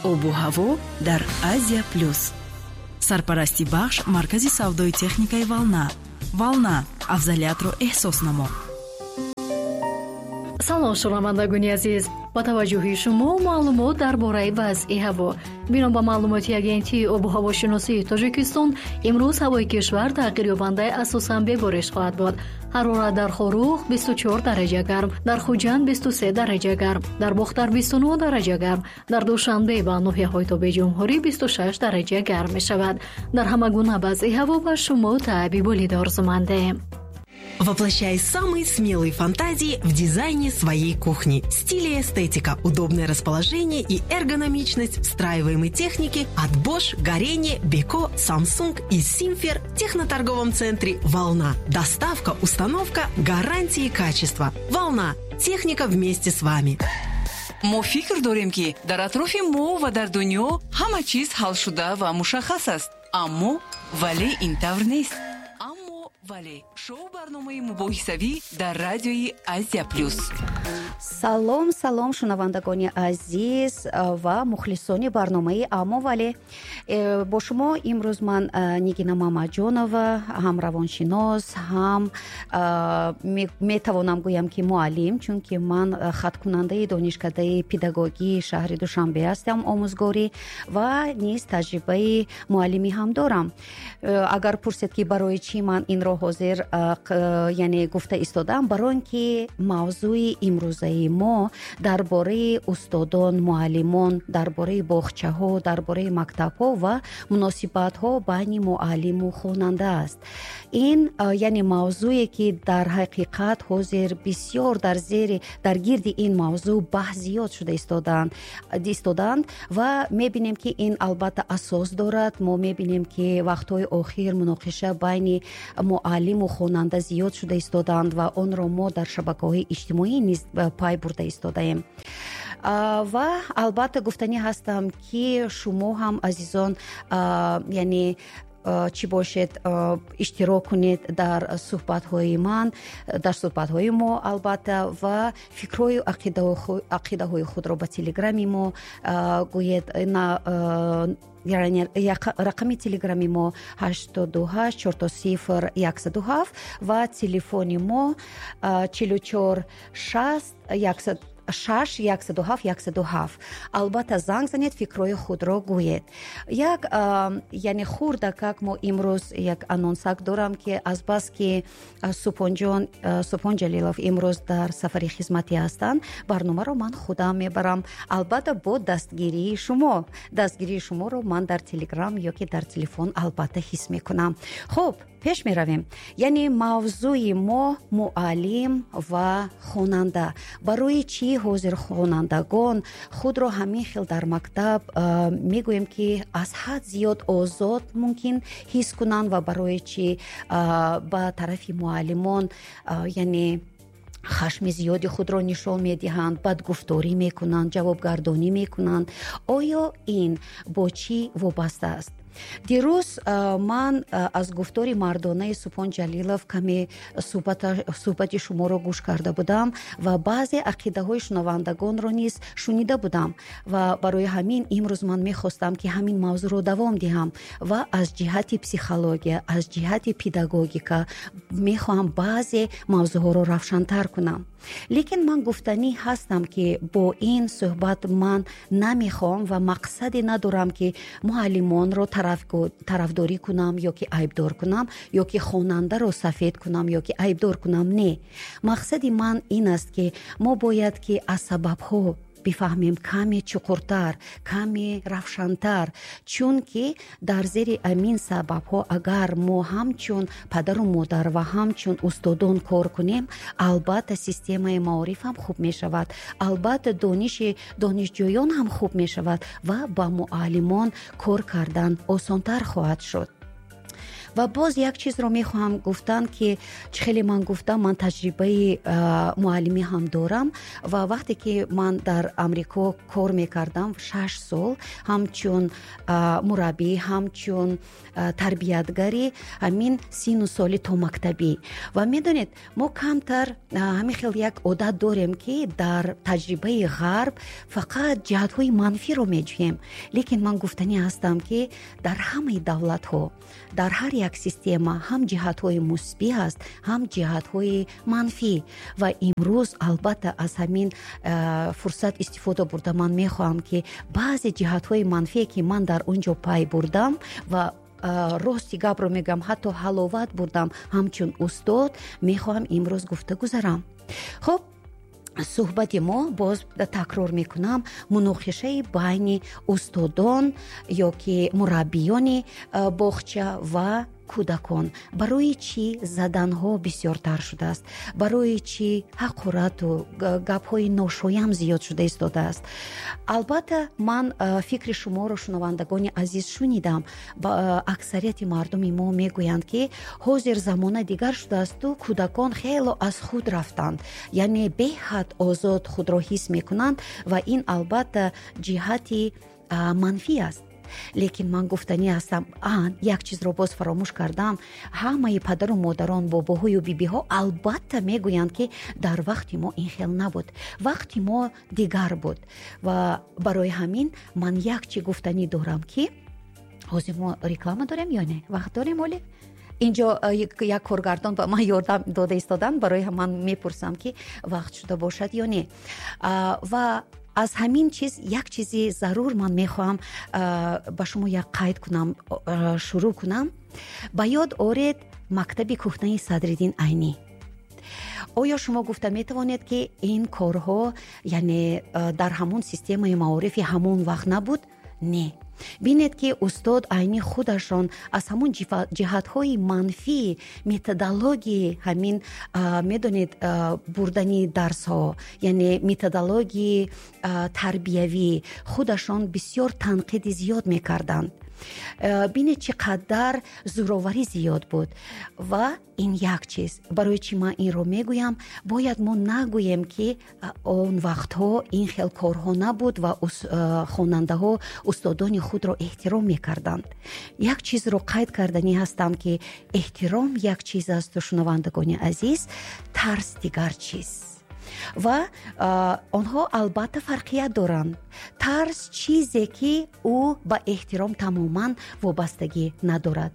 Обу ҳаво дар Азия Плюс. Сарпарасти бахш маркази савдои техникаи «Волна». «Волна», афзалиятро эҳсос намо. Салом, шунавандагони азиз! Ба таваҷҷӯҳи шумо маълумот дар бораи вазъи ҳаво. Бино ба маълумоти Агентии обу ҳавошиносии Тоҷикистон, имрӯз ҳавои кишвар тағйирёбандаи асосан бебориш хоҳад буд. Ҳарорат дар Хоруғ 24 дараҷа гарм, дар Хуҷанд 23 дараҷа гарм, дар Бохтар 29 дараҷа гарм, дар Душанбе ва ноҳияҳои тобеи ҷумҳурӣ 26 дараҷа гарм мешавад. Дар ҳама гуна вазъи ҳаво ба шумо таъби болида орзумандем. Воплощай самые смелые фантазии в дизайне своей кухни. Стиль и эстетика, удобное расположение и эргономичность встраиваемой техники от Bosch, Gorenje, Beko, Samsung и Simfer в техноторговом центре «Волна». Доставка, установка, гарантии качества. «Волна». Техника вместе с вами. Мо фикр дорем, ки дар атрофи мо ва дар дунё ҳама чиз ҳалшуда ва мушаххас аст, аммо вале ин тавр нест. Аммо вале — шоу барномаи мубоҳисавӣ дар радиои Азия Плюс. Салом, салом, шунавандагони азиз ва мухлисони барномаи «Аммо вале». Бо шумо имрӯз ман, Нигина Мамаҷонова, ҳам равоншинос, ҳам метавонам гӯям, ки муаллим, чунки ман хаткунандаи Донишкадаи педагогии шаҳри Душанбе ҳастам, омӯзгорӣ, ва низ таҷрибаи муаллимӣ ҳам дорам. Агар пурсед, ки барои чӣ ман инро ҳозир, яъне, гуфта истодам, барои он ки мавзӯи имрӯзаи мо дар бораи устодон, муаллимон, дар бораи боғчаҳо, дар бораи мактабҳо ва муносибатҳо байни муаллиму хонанда аст. Ин, яъне, мавзӯе, ки дар ҳақиқат ҳозир бисёр дар зери, дар гирди ин мавзӯъ баҳс зиёд шуда истодаанд ва мебинем, ки ин албатта асос дорад. Мо мебинем, ки вақтҳои охир муноқиша байни муаллиму хонанда зиёд шуда истодаанд ва онро мо дар шабакаҳои иҷтимоӣ низ пай бурда истодаем. Ва албатта гуфтанӣ ҳастам, ки шумо ҳам, азизон, яъне, чӣ бошед, иштирок кунед дар суҳбатҳои ман, дар суҳбатҳои мо, албатта, ва фикрҳою ақидаҳои худро ба телеграми мо гӯед. Рақами телеграми мо 88 000 107 ва телефони мо 44 60 6 107 107. Албатта, занг занед, фикрҳои худро гӯед. Як, яъне, хурдакак мо имрӯз як анонсак дорам, ки азбаски Супонҷон, Супон Ҷалилов имрӯз дар сафари хизматӣ ҳастанд, барномаро ман худам мебарам, албатта бо дастгирии шумо. Дастгирии шуморо ман дар телеграм ё ки дар телефон албатта ҳис мекунам. Хуб, пеш меравем. Яъне, мавзӯи мо муаллим ва хонанда. Барои чӣ ҳозир хонандагон худро ҳамин хел дар мактаб, мегӯем, ки аз ҳад зиёд озод мумкин ҳис кунанд ва барои чӣ ба тарафи муаллимон, яъне, хашми зиёди худро нишон медиҳанд, бадгуфторӣ мекунанд, ҷавобгардонӣ мекунанд? Оё ин бо чӣ вобаста аст? Дирӯз ман аз гуфтори мардонаи Супон Ҷалилов каме суҳбати шуморо гӯш карда будам ва баъзе ақидаҳои шунавандагонро низ шунида будам ва барои ҳамин имрӯз ман мехостам, ки ҳамин мавзӯъро давом диҳам ва аз ҷиҳати психология, аз ҷиҳати педагогика мехоҳам баъзе мавзӯъҳоро равшантар кунам. Лекин ман гуфтанӣ ҳастам, ки бо ин суҳбат ман намехоҳам ва мақсаде надорам, ки муаллимонро тарафдорӣ кунам ё ки айбдор кунам, ё ки хонандаро сафед кунам, ё ки айбдор кунам. Не, мақсади ман ин аст, ки мо бояд ки аз сабабҳо бифаҳмем каме чуқуртар, каме равшантар, чунки дар зери амин сабабҳо агар мо ҳамчун падару модар ва ҳамчун устодон кор кунем, албатта, системаи маориф ҳам хуб мешавад, албатта, дониши донишҷӯён ҳам хуб мешавад ва ба муаллимон кор кардан осонтар хоҳад шуд. Ва боз як чизро мехоҳам гуфтан, ки чӣ хеле ман гуфтам, ман таҷрибаи муаллимӣ ҳам дорам ва вақте ки ман дар Амрико кор мекардам 6 сол, ҳамчун мураббӣ, ҳамчун тарбиятгари ҳамин сину соли томактабӣ. Ва медонед, мо камтар ҳамин хел як одат дорем, ки дар таҷрибаи ғарб фақат ҷиҳатҳои манфиро меҷӯем. Лекин ман гуфтанӣ ҳастам, ки дар ҳамаи давлатҳо, дар ҳар як система ҳам ҷиҳатҳои мусбӣ ҳаст, ҳам ҷиҳатҳои манфӣ. Ва имрӯз албатта аз ҳамин фурсат истифода бурда ман мехоҳам, ки баъзе ҷиҳатҳои манфие, ки ман дар он ҷо пай бурдам ва рости гапро мегӯям, ҳатто ҳаловат бурдам ҳамчун устод, мехоҳам имрӯз гуфта гузарам. Хуб, суҳбати мо, боз такрор мекунам, муноқишаи байни устодон ё ки мураббиёни боғча ва кӯдакон. Барои чӣ заданҳо бисёртар шудааст? Барои чӣ ҳақорату гапҳои ношоям зиёд шуда истодааст? Албатта, ман фикри шуморо, шунавандагони азиз, шунидам. Аксарияти мардуми мо мегӯянд, ки ҳозир замона дигар шудаасту кӯдакон хело аз худ рафтанд, яъне беҳад озод худро ҳис мекунанд ва ин албатта ҷиҳати манфӣ аст. Лекин ман гуфтанӣ ҳастам, як чизро боз фаромӯш кардам. Ҳамаи падару модарон, бобоҳою бибиҳо албатта мегӯянд, ки дар вақти мо ин хел набуд, вақти мо дигар буд. Ва барои ҳамин ман як чӣ гуфтанӣ дорам, ки ҳозир мо реклама дорем ё не? Вақт дорем оле? Инҷо як коргардон ба ман ёрдам дода истодан, барои ман мепурсам, ки вақт шуда бошад ё не. Ва аз ҳамин чиз як чизи зарур ман мехоҳам ба шумо як қайд кунам, шурӯъ кунам. Ба ёд оред мактаби кӯҳнаи Садриддин Айнӣ. Оё шумо гуфта метавонед, ки ин корҳо, яъне дар ҳамон системаи маорифи ҳамон вақт набуд? Не. Бинед, ки устод Айнӣ худашон аз ҳамон ҷиҳатҳои манфии методологии ҳамин, медонед, бурдани дарсҳо, яъне методологии тарбиявӣ худашон бисёр танқиди зиёд мекарданд. Бинед, чӣ қадар зӯроварӣ зиёд буд. Ва ин як чиз. Барои чӣ ман инро мегӯям? Бояд мо нагӯем, ки он вақтҳо ин хел корҳо набуд ва хонандаҳо устодони худро эҳтиром мекарданд. Як чизро қайд карданӣ ҳастам, ки эҳтиром як чиз асту, шунавандагони азиз, тарс дигар чиз. Ва онҳо албатта фарқият доранд. Тарс чизе, ки ӯ ба эҳтиром тамоман вобастагӣ надорад.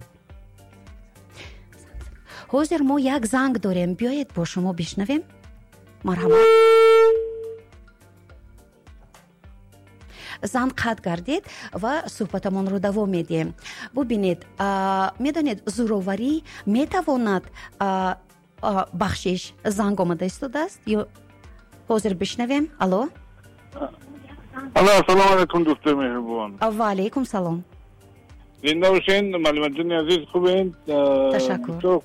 Ҳозир мо як занг дорем, биёед бо шумо бишнавем. Марҳамат. Занг қатъ гардид ва суҳбатамонро давом медиҳем. Бубинед, медонед, зӯроварӣ метавонад, бахшиш, занг омада истодааст ё ҳозир бишнавем. Алло. Алло, ассалому алайкум, дӯстои меҳрубон. Ва алайкум салом. Зинда бошен, муаллимаҷони азиз, хубен? Ташаккур.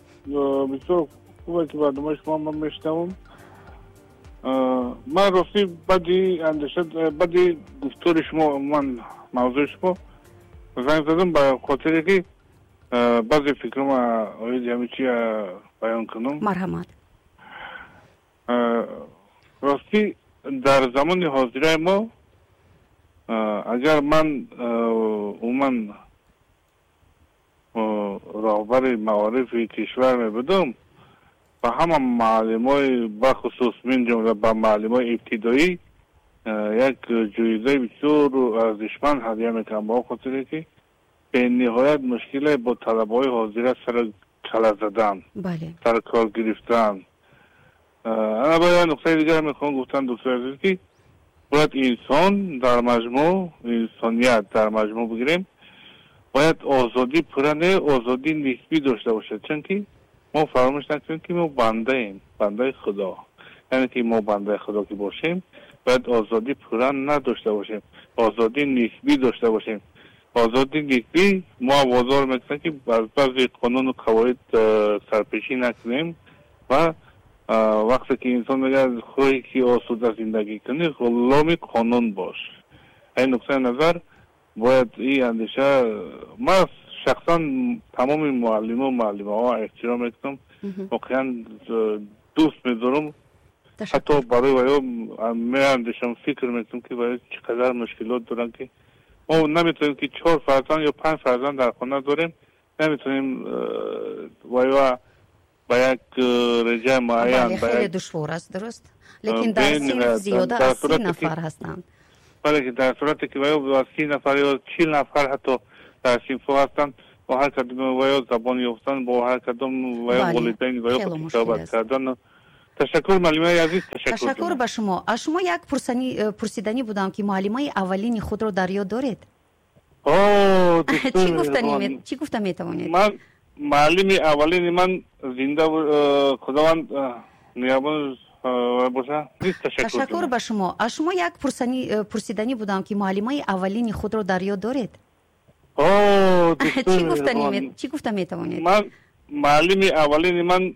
Бисёр хубе, ки барномаи шумо ман мешунавам. Ман ростӣ баъди андеша, баъди гуфтори шумо, ман мавзӯи шумо занг задам ба хотире, ки баъзе фикрҳома оиди ҳамин чи баён кунам. Марҳамат. Ростӣ дар замони ҳозираи мо, агар ман умуман роҳбари маорифи кишвар мебудам, ба ҳама муаллимои, бахусус мин ҷумла ба муаллимои ибтидоӣ як ҷоизаи бисёр арзишманд ҳадя мекунам, ба он хотире ки бениҳоят мушкиле бо талабаҳои ҳозира сара кала задан, сар кор гирифтан. Ана ба як нуқтаи дигар мехоҳам гуфтан, дӯстои азиз, ки бояд инсон дар маҷмӯъ, инсоният дар маҷмӯъ бигирем, бояд озодӣ пурра не, озодии нисбӣ дошта бошад, чунки мо фаромӯш накунем, ки мо бандаем, бандаи Худо. Яъне ки мо бандаи Худо ки бошем, бояд озодӣ пурра надошта бошем, озодии нисбӣ дошта бошем. Озодии нисбӣ мо водор мекунад, ки аз баъзе қонуну қавоид сарпешӣ накунем. Ва вақте ки инсон мегӯяд, хоҳӣ ки осуда зиндагӣ кунӣ, ғуломи қонун бош. Ин нуқтаи назар бояд ин андеша ман Шахсан тамоми муаллиму муаллимаҳо эҳтиром мекунам, воқеан дӯст медорам. Ҳатто барои ваё меандешам, фикр мекунам, ки ваё чӣ қадар мушкилот доранд, ки мо наметавонем, ки чор фарзанд ё панҷ фарзанд дар хона дорем, наметавонем ваё ба як реҷаи муайян. Хеле душвор аст, дуруст, лекин дар синф зиёда аз 30 нафар ҳастанд. Бале, ки дар сурате ки ваё 30 нафар ё 40 нафар ҳатто дар синфҳо ҳастанд, бо ҳар кадом ваё забон ёфтан, бо ҳар кадом ваё волидайн ваё суҳбат кардан. Ташаккур, муаллимаи азиз. Ташаккур. Ташаккур ба шумо. Аз шумо як пурсиданӣ будам, ки муаллимаи аввалини худро дар ёд доред? Чӣ гуфта метавонед? Ман муаллими аввалини ман зинда, Худованд нигаҳбон боша. Ташаккур ба шумо. Аз шумо як пурсиданӣ будам, ки муаллимаи аввалини худро дар ёд доред? Чӣ гуфта метавонед? Ман муаллими аввалини ман